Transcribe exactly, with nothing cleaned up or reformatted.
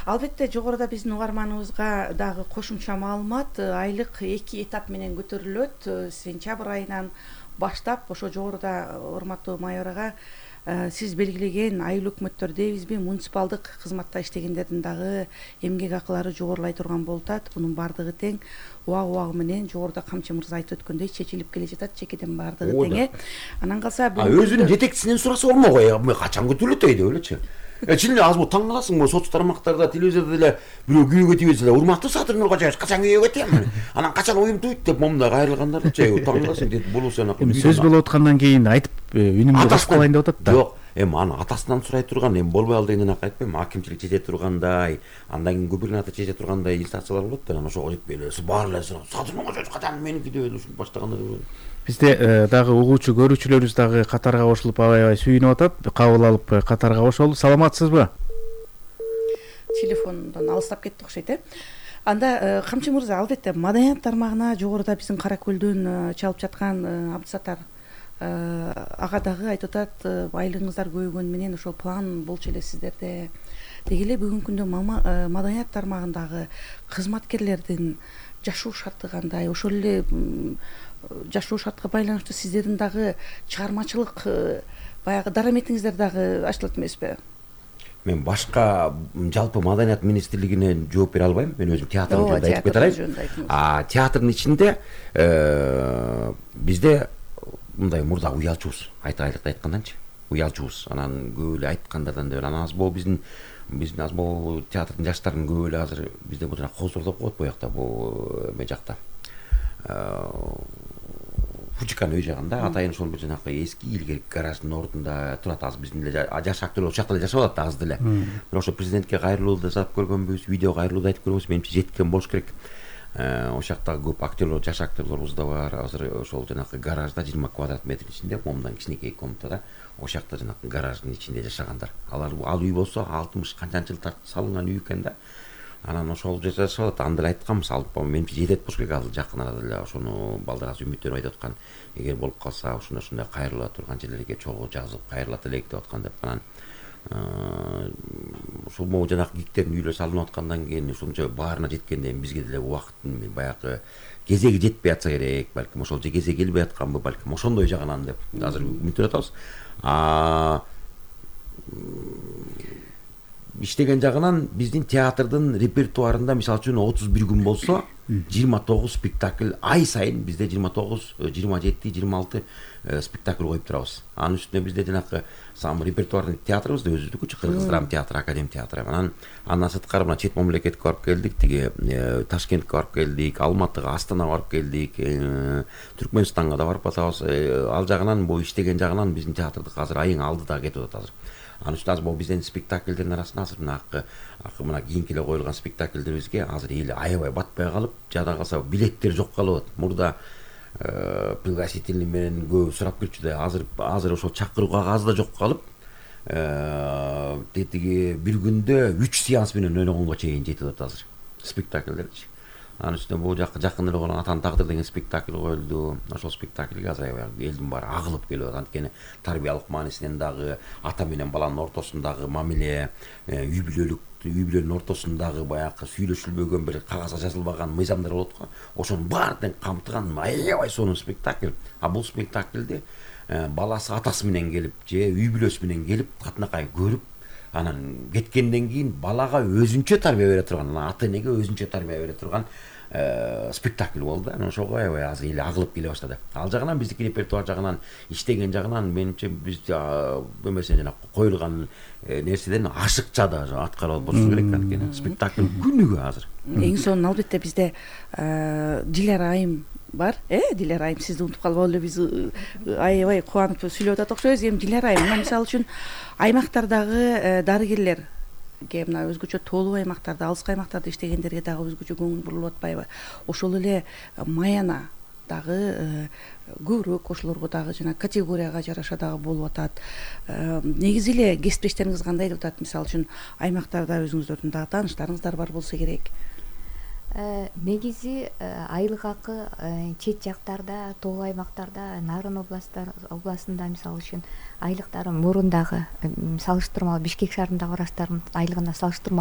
Албетте жогоруда биздин угарманыбызга дагы кошумча маалымат, айлык эки этап менен көтөрүлөт. Сентябрь айынан баштап ошо жогоруда урматтуу майор ага сиз белгилеген айыл өкмөттөр дейбизби, муниципалдык кызматта иштегендердин дагы эмгек акылары жогорулай турган болуп атат. Бунун баардыгы тең убак убагы менен жогоруда Камчы мырза айтып өткөндөй чечилип келе жатат, чекеден баардыгы тең э. Анан калса өзүнүн жетекчисинен сураса болмок э, качан көтөрүлөт деп элечи. Чын эле азыр таң каласың, бул соц тармактарда, телевизордо деле бирөө күйөөгө тийбесе эле урматтуу Садыр Нуркожоевич качан күйөөгө тийем? Анан качан оюм туйт деп момундай кайрылгандарды таң каласың деп болсо эми сөз болуп аткандан кийин айтып үнүмдү баскылайын деп атат да. Жок, эми аны атасынан сурай турган, эми болбой ал дегенден айтпайм, акимчилик чече тургандай, андан кийин губернатор чече тургандай инстанциялар болот да, анан ошого жетпей эле баары эле Садыр Нуркожоевич качан меники деп ушинтип баштагандар. Бизде дагы угуучу көрүүчүлөрүбүз дагы катарга кошулуп аябай сүйүнүп атат. Кабыл алып катарга кошолу. Саламатсызбы? Телефондон алыстап кетти окшойт э. Анда Камчы мырза, албетте маданият тармагына жогоруда биздин Кара Көлдөн чалып жаткан Абдысаттар ага дагы айтып атат, айлыгыңыздар көбөйгөнү менен ошол план болчу эле сиздерде. Деги эле бүгүнкү күндө маданият тармагындагы кызматкерлердин жашоо шарты кандай? Ошол эле жашоо шартка байланыштуу сиздердин дагы чыгармачылык баягы дараметиңиздер дагы ачылат эмеспи? Мен башка жалпы маданият министрлигине жооп бере албайм. Мен өзүм театрдын жөнүндө айтып кетейин. А театрдын ичинде бизде мындай мурда уялчубуз. Айтайлыкты айтканданчы. Уялчубуз. Анан көп эле айткандардан да анан аз бул биздин биздин аз бул театрдын жаштарын көп эле азыр бизде бул жана козор деп коет бу жакта, бул эме жакта. Фучикан үй жагында атайын ошол бир жанакы эски илгерки гараждын ордунда турат. Азыр биздин эле жаш актерлор ошол жакта эле жашап атат азыр деле. Бирок ошо президентке кайрылуу да жасап көргөнбүз, видео кайрылуу да айтып көргөнбүз. Менимче жеткен болуш керек. Ошол жактагы көп актерлор, жаш актерлорубуз да бар. Азыр ошол жанакы гаражда жыйырма квадрат метр ичинде, момундан кичинекей комнатада ошол жакта жанакы гараждын ичинде жашагандар. Алар ал үй болсо алтымыш канчанчы жыл тартып салынган үй экен да. Анан ошол жерде жашап атат. Анда эле айтканбыз, алып менимче жетет болуш керек. Азыр жакын арада эле ошону балдар азыр үмүттөнүп айтып аткан. Эгер болуп калса ушундай ушундай кайрыла турган жерлерге чогуу жазып кайрылат элек деп аткан деп. Анан ушул могу жанакы гиктердин үйлөр салынып аткандан кийин ушунча баарына жеткенде бизге деле убакыттын баягы кезеги жетпей атса керек, балким ошол кезеги келбей атканбы, балким ошондой жагынан деп азыр үмүттөнүп атабыз. А иштеген жагынан биздин театрдын репертуарында мисалы үчүн отуз бир күн болсо жыйырма тогуз спектакль ай сайын бизде жыйырма тогуз, жыйырма жети, жыйырма алты спектакль коюп турабыз. Анын үстүнө бизде жанакы сам репертуардын театрыбыз да өзүбүздүкү, Кыргыз драма театры, академ театры. Анан андан сырткары мына чет мамлекетке барып келдик, тиги Ташкентке барып келдик, Алматыга, Астанага барып келдик, Түркмөнстанга да барып атабыз. Ал жагынан бул иштеген жагынан биздин театрдык азыр айың алдыда кетип атат азыр. Анын үстүнө азыр бул биздин спектакльдердин арасында азыр мына мына кийинки эле коюлган спектакльдерибизге азыр эл аябай батпай калып, жада калса билеттер жок калып атат. Мурда пригласительный менен көп сурап келчү да, азыр азыр ошол чакыруу кагазы да жок калып, тетиги бир күндө үч сеанс менен ойногонго чейин жетип атат азыр спектакльдерчи. Анын үстүнө бул жакы жакын эле болгон Атан тагдыр деген спектакль коюлду. Ошол спектакльге азыр элдин баары агылып келип атат. Анткени тарбиялык маанисинен дагы, ата менен баланын ортосундагы мамиле, үй бүлөлүк үй бүлөнүн ортосундагы баягы сүйлөшүлбөгөн бир кагазга жазылбаган мыйзамдар болот го. Ошонун баарын камтыган аябай сонун спектакль. А бул спектакльди баласы атасы менен келип же үй бүлөсү менен келип катынакай көрүп, анан кеткенден кийин балага өзүнчө тарбия бере турган, ата энеге өзүнчө тарбия бере турган спектакль болду. Анан ошого аябай азыр эл агылып келе баштады. Ал жагынан биздики репертуар жагынан, иштеген жагынан менимче биз эмесе жана коюлган нерседен ашыкча да аткарып болуш керек. Анткени спектакль күнүгө азыр. Эң сонун албетте бизде Дилара айым бар, э, Дилара айым, сизди унутуп калбай эле биз аябай кубанып сүйлөп атат окшойбуз. Эми Дилара айым, мына мисалы үчүн аймактардагы дарыгерлер мына өзгөчө тоолуу аймактарда, алыскы аймактарда иштегендерге дагы өзгөчө көңүл бурулуп атпайбы? Ошол эле Маяна дагы көбүрөөк ошолорго дагы жана категорияга жараша дагы болуп атат. Негизи эле кесиптештериңиз кандай деп атат? Мисалы үчүн аймактарда өзүңүздөрдүн дагы тааныштарыңыздар бар болсо керек. Негизи айлык акы чет жактарда, тоолуу аймактарда, Нарын областында мисалы үчүн айлыктары мурундагы салыштырмалуу Бишкек шаарындагы врачтардын айлыгына салыштырмалуу